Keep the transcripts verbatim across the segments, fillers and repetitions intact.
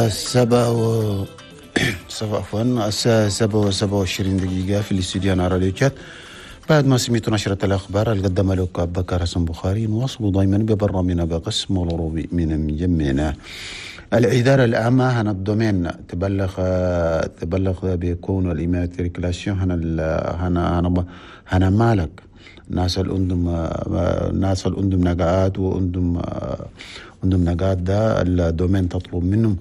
سبعة و سبعة عفوا الساعة سبعة وسبعة وعشرين دقيقة في الاستوديو على راديو تشاد. بعد ما سمعتوا نشرة الأخبار اللي قدمها لكم بكر حسن بخاري، نواصل دائما ببرنامجنا بقسم العربي من مجمعنا. الإدارة العامة هنا ال domaine تبلغ تبلغ بكون ال immatriculation هنا هنا هنا هنا مالك ناس الأندم ناس الأندم نقاءات وأندم أندم نقاءات ده ال domaine تطلب منهم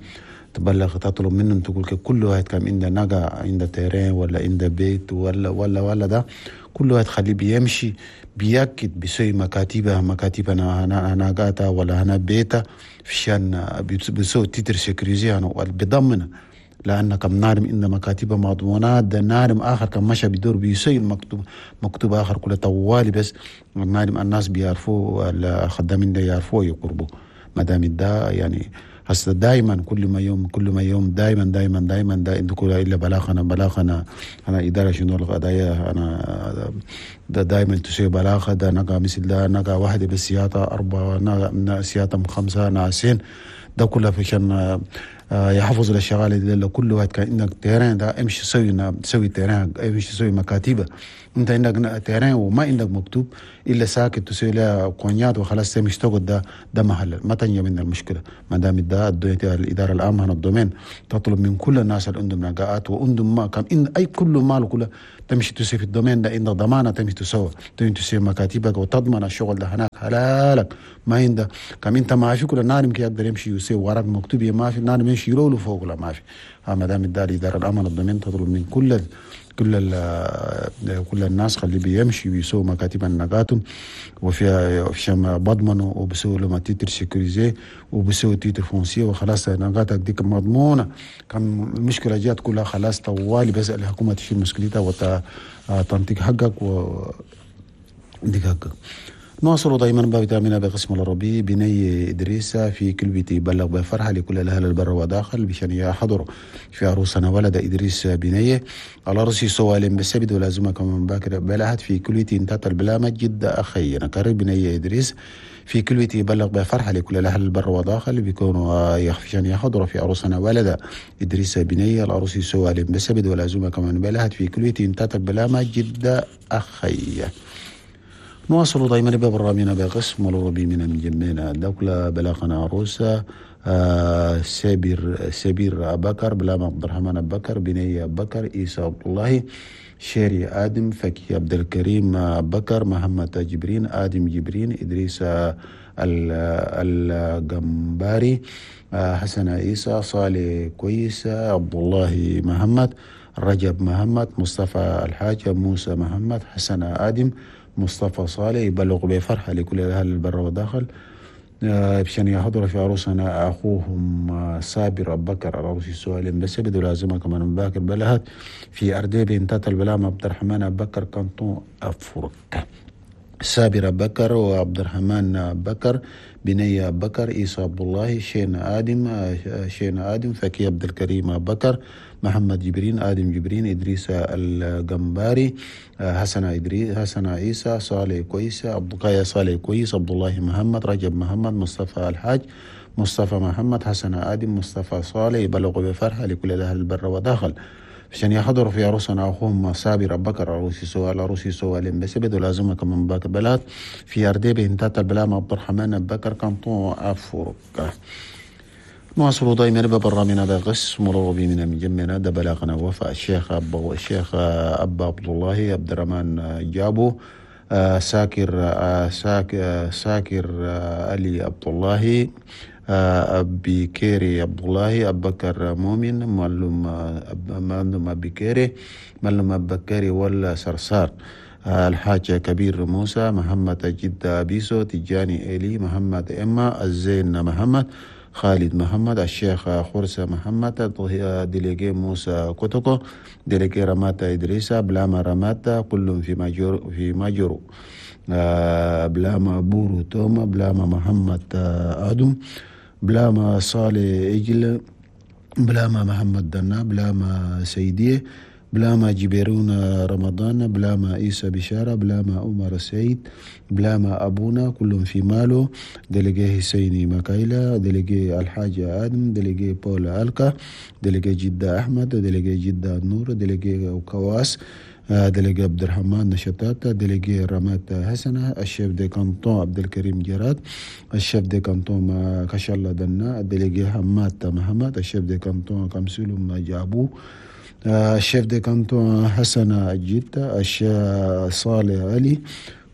تبلغ تطلب منهم تقول كل واحد كان عنده نقا عنده terrain ولا عنده بيت ولا ولا ولا ده كل واحد خليه بيمشي بيأكد بيسوي مكاتبه مكاتب انا ناقاتا ولا هنا بيتا فشان بيسوي titre sécurisé انا بيضمن، لأن كم نارم إن مكاتب مضمونات ده نارم آخر كم مشى بيدور بيسوي المكتوب مكتوب آخر كله طوالي، بس نارم الناس بيعرفوا الخدامين ده يعرفوا يقربوا ما دام ده يعني هسه دائما كل ما يوم كل ما يوم دائما دائما دائما دا عندكم الا بلاغنا بلاغنا انا ادارة شنو القضايا انا ده دائما تسوي بلاغه ده نقا مثل ده نقا واحدة بس سياطه اربعة سياطه خمسة ناسين ده كله عشان يحفظ الشغاله دي. كل واحد كان عندك terrain ده امشي سوي سوي terrain امشي سوي مكاتبه، انت عندك terrain وما عندك مكتوب الا ساكت تسوي لها كونيات وخلاص تمشي تقعد ده ده محل ما تنجي من المشكلة. ما دام ده الادارة العامة هنا ال domaine تطلب من كل الناس اللي عندهم نقاءات وعندهم ما كان إن اي كل مال كله تمشي تسوي في ال domaine ده عندك ضمانه تمشي تسوي تمشي تسوي مكاتبك وتضمن الشغل ده هناك حلالك ما عندك كم انت ما في كل نار يمكن يقدر يمشي يسوي ورق مكتوب ما في نار يمشي يرولو فوق ولا ما في. ما دام الادارة العامة ال domaine تطلب من كل كل كل الناس خلي بيمشي ويسووا مكاتب النقاتهم وفيها شم بضمنوا وبسووا لهم titre sécurisé وبسووا titre foncier وخلاص نقاتك ديك مضمونه. كم المشكلة جات كلها خلاص طوالي بس الحكومة تشيل مشكلتها وتنطيق حقك و ديك حقك. نواصل دائما بفيتامين بقسم العربي بني إدريس في كلبتي بلغ بفرحة لكل الأهل البر وداخل بشان يحضروا في عروسنا ولد إدريس بني على رأسي سوالم بالسبد ولازمة كمان باكر بلهت في كلبتي انتهت البلامة جدا أخي نكرر بني إدريس في كلبتي بلغ بفرحة لكل الأهل البر وداخل بيكونوا يخفشان يحضروا في عروسنا ولد إدريس بني على رأسي سوالم بالسبد ولازمة كمان بلهت في كلبتي انتهت البلامة جدا أخي. نواصل دائما ببرنامجنا بقسم العربي من مجمعنا دولة بلاغنا عروسة آه سبير سبير أبكر بلام عبد الرحمن أبكر بني أبكر إيسى عبد الله شيري آدم فكي عبد الكريم أبكر محمد جبرين آدم جبرين إدريس الجمباري آه حسن عيسى صالح كويس عبد الله محمد رجب محمد مصطفى الحاج موسى محمد حسن آدم مصطفى صالح يبلغ بفرحة لكل أهل البر والداخل بشان يحضر في عروسنا أخوهم صابر أبو بكر على رأس السؤال بس بدو لازمة كمان باكر بلهت في أرديب انتات البلام عبد الرحمن أبو بكر كانتون أفرك صابر أبو بكر وعبد الرحمن أبو بكر بني أبو بكر إيسى عبد الله شين آدم شين آدم فكي عبد الكريم أبو بكر محمد جبرين آدم جبرين إدريس الجمباري حسن إدريس حسن عيسى صالح كويس عبد القاية صالح كويس عبد الله محمد رجب محمد مصطفى الحاج مصطفى محمد حسن آدم مصطفى صالح يبلغ بفرحة لكل أهل البر وداخل عشان يحضروا في عروسنا أخوهم صابر أبو بكر عروسي سؤال عروسي سؤال بس بدو لازمة كمان باك بلاد في أرديب انتات البلام عبد الرحمن أبو بكر كانتون أفرك. نواصل دائما ببرنامجنا بقسم العربي من مجمعنا ده بلاغنا وفاء الشيخ أبا الشيخ أبا عبد الله عبد الرحمن جابو ساكر ساكر ساكر علي عبد الله أبي كيري عبد الله أبو بكر مؤمن معلم معلم أبي كيري معلم أبو بكري ولا صرصار الحاج كبير موسى محمد جدة بيسو تجاني إلي محمد إما الزين محمد خالد محمد الشيخ خرسة محمد délégué موسى كوتوكو délégué رماتا إدريسا بلاما رماتا كلهم في ماجور في ماجورو بلاما بورو توما بلاما محمد آدم بلاما صالح إجل بلاما محمد دنا بلاما سيدية بلاما جبيرون رمضان، بلاما عيسى بشارة، بلاما عمر السعيد، بلاما أبونا كلهم في مالو، délégué حسيني مكايلا، délégué الحاج آدم، délégué بول ألكا، délégué جدة أحمد، délégué جدة نور، délégué كواس، délégué عبد الرحمن نشطات، délégué رمات حسنة، ال chef de canton عبد الكريم جراد، ال chef de canton كشالة دنا، délégué حماد محمد، ال chef de canton كمسلم جابو، ال chef de canton حسن الجدة، الشيخ صالح علي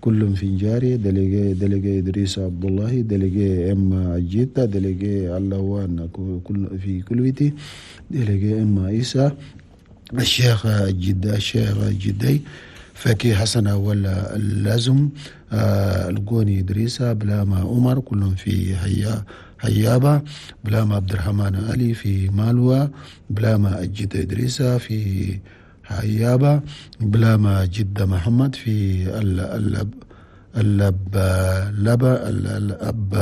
كلهم في جاري، délégué délégué إدريس عبد الله، délégué ام الجدة، délégué اللوان كل في كلويتي، délégué ام عيسى، الشيخ الجدة الشيخ الجدي فكي حسن ولا اللازم، آه القوني إدريسة، بلاما عمر كلهم في هيا هيابة، بلاما عبد الرحمن علي في مالوا، بلاما الجدة إدريسة في هيابة، بلاما جدة محمد في اللب اللب لبا الأب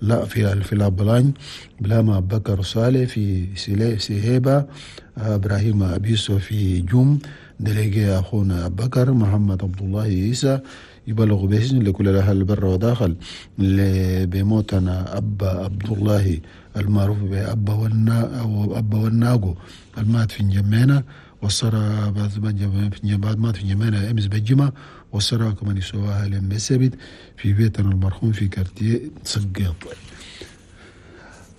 لا في في الأبلان، بلاما بكر صالح في سهيبة، إبراهيم أبيسو في جوم، délégué أخونا بكر محمد عبد الله عيسى يبلغ بإذن لكل الأهل البر وداخل بموتنا أبا عبد الله المعروف بأبا والنا أو أبا والناغو المات في جمينا والصرا بعد مات في جمينا أمس بالجمعة، والصرا كمان يسواها لما السبت في بيتنا المرحوم في كارتيه سقيط.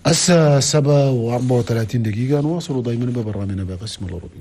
الساعة سبعة وأربعة وثلاثين دقيقة نواصل دائما ببرنامجنا بقسم الأوروبي.